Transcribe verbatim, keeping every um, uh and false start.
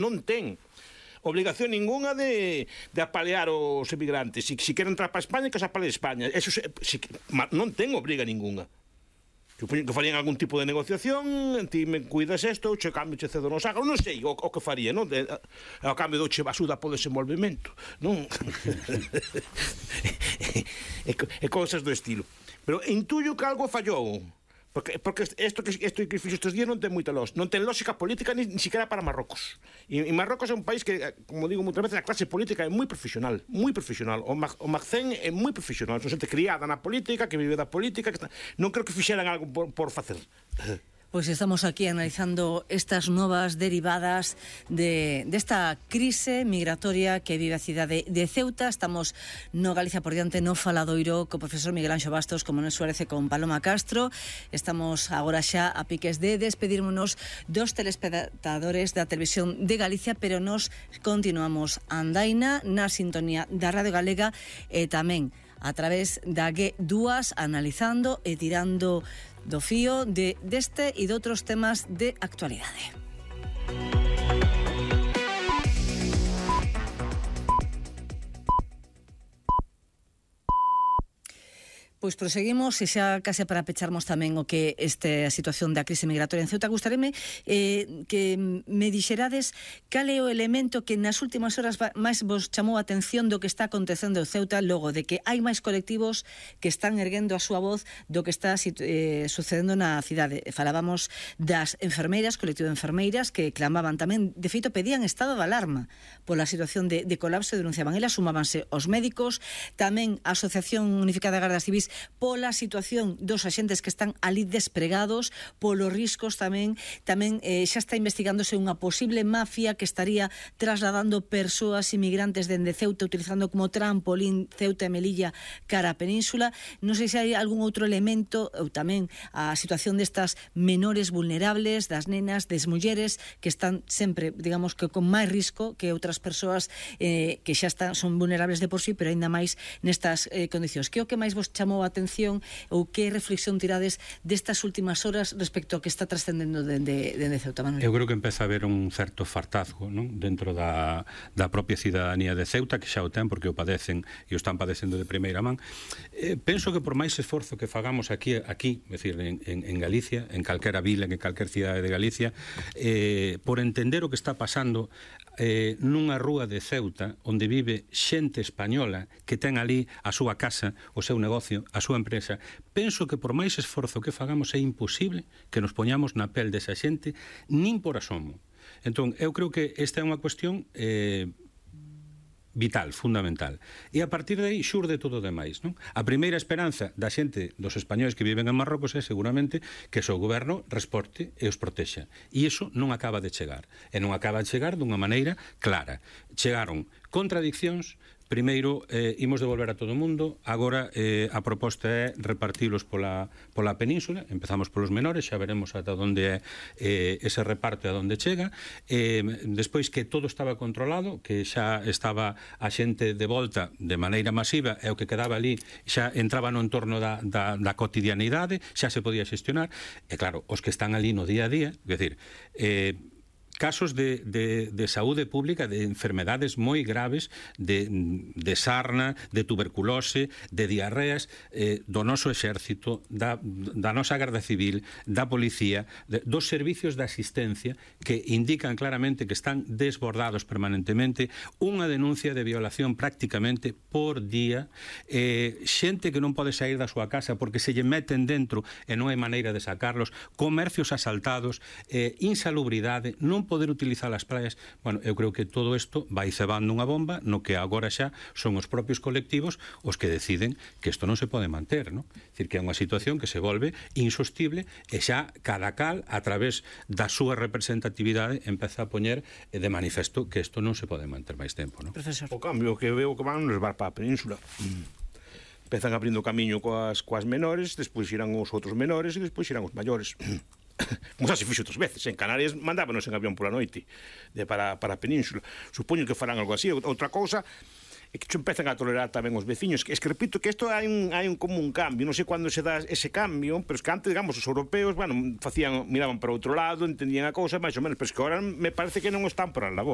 non ten obligación ninguna de, de apalear os emigrantes. Si, si queren entrar para España, que se apale España. Eso se, si, non ten obriga ninguna. Supoño que farían algún tipo de negociación, ti me cuidas isto, che cambio, che cedo nos agro, non sei o, o que faría, non? De, ao cambio do che basuda po desenvolvemento, non? e, e cousas do estilo. Pero intuyo que algo fallou. Porque, porque isto que, isto que fixo estes días non ten moita lógica, non ten lógica política ni, ni siquiera para Marrocos. E, e Marrocos é un país que, como digo moitas veces, a clase política é moi profesional, moi profesional. O, Mag, o Magcén é moi profesional, son xente criada na política, que vive da política, que está... non creo que fixeran algo por, por facer. Pois estamos aquí analizando estas novas derivadas de desta crise migratoria que vive a cidade de Ceuta. Estamos no Galicia por diante, no Faladoiro, co profesor Miguel Anxo Bastos, como Manuel Suárez e con Paloma Castro. Estamos agora xa a piques de despedirmonos dos telespectadores da Televisión de Galicia, pero nos continuamos andaina na sintonía da Radio Galega e tamén a través da G dúas, analizando e tirando do fío de deste e de outros temas de actualidade. Pois proseguimos e xa case para pecharmos tamén o que este a situación da crise migratoria en Ceuta. Gustaréme eh, que me dixerades cal é o elemento que nas últimas horas máis vos chamou a atención do que está acontecendo en Ceuta, logo de que hai máis colectivos que están erguendo a súa voz do que está eh, sucedendo na cidade. Falábamos das enfermeiras, colectivo de enfermeiras, que clamaban tamén, de feito pedían estado de alarma pola situación de, de colapso, denunciaban elas, sumábanse os médicos, tamén a Asociación Unificada de Gardas Civis pola situación dos axentes que están ali despregados, polos riscos tamén, tamén eh, xa está investigándose unha posible mafia que estaría trasladando persoas inmigrantes dende Ceuta, utilizando como trampolín Ceuta e Melilla cara a Península. Non sei se hai algún outro elemento, ou tamén a situación destas menores vulnerables, das nenas, das mulleres, que están sempre, digamos, que con máis risco que outras persoas eh, que xa están, son vulnerables de por sí, pero aínda máis nestas eh, condicións. Que é o que máis vos chamou a atención ou que reflexión tirades destas últimas horas respecto ao que está trascendendo dende, dende Ceuta, Manuel? Eu creo que empeza a haber un certo fartazgo, non? Dentro da, da propia cidadanía de Ceuta, que xa o ten porque o padecen e o están padecendo de primeira man. Eh, penso que por máis esforzo que fagamos aquí, aquí é dicir, en, en, en Galicia, en calquera vila, en calquera cidade de Galicia, eh, por entender o que está pasando eh, nunha rúa de Ceuta onde vive xente española que ten ali a súa casa, o seu negocio, a súa empresa, penso que por máis esforzo que fagamos é imposible que nos poñamos na pel desa xente nin por asomo. Entón, eu creo que esta é unha cuestión eh, vital, fundamental. E a partir de aí xurde todo o demais, non? A primeira esperanza da xente, dos españoles que viven en Marrocos, é seguramente que o seu goberno resporte e os protexa. E iso non acaba de chegar. E non acaba de chegar dunha maneira clara. Chegaron contradiccións. Primeiro, eh, imos devolver a todo o mundo. Agora, eh, a proposta é repartilos pola, pola península. Empezamos polos menores, xa veremos ata onde é eh, ese reparto e a onde chega. Eh, despois que todo estaba controlado, que xa estaba a xente de volta de maneira masiva, e o que quedaba ali xa entraba no entorno da, da, da cotidianidade, xa se podía xestionar. E claro, os que están ali no día a día, é dicir, eh, casos de, de, de saúde pública, de enfermedades moi graves, de, de sarna, de tuberculose, de diarreas, eh, do noso exército, da, da nosa Garda Civil, da Policía, de, dos servicios de asistencia que indican claramente que están desbordados permanentemente, unha denuncia de violación prácticamente por día, eh, xente que non pode sair da súa casa porque se lle meten dentro e non hai maneira de sacarlos, comercios asaltados, eh, insalubridade, non poder utilizar as praias. Bueno, eu creo que todo isto vai cebando unha bomba no que agora xa son os propios colectivos os que deciden que isto non se pode manter, non? É dicir, que é unha situación que se volve insostible e xa cada cal, a través da súa representatividade, empeza a poñer de manifesto que isto non se pode manter máis tempo, non? Profesor. O cambio que veo que van nos levar para a península. Empezan abrindo camiño coas, coas menores, despois irán os outros menores e despois irán os maiores. Como xa se fixo outras veces. En Canarias mandábanos en avión pola noite de para, para a península. Supoño que farán algo así. Outra cousa é que empezan a tolerar tamén os veciños. Es que repito que isto hai un, hai un como un cambio. Non sei cando se dá ese cambio, pero es que antes, digamos, os europeos, bueno, facían, miraban para outro lado, entendían a cousa, máis ou menos, pero es que agora me parece que non están por a labor.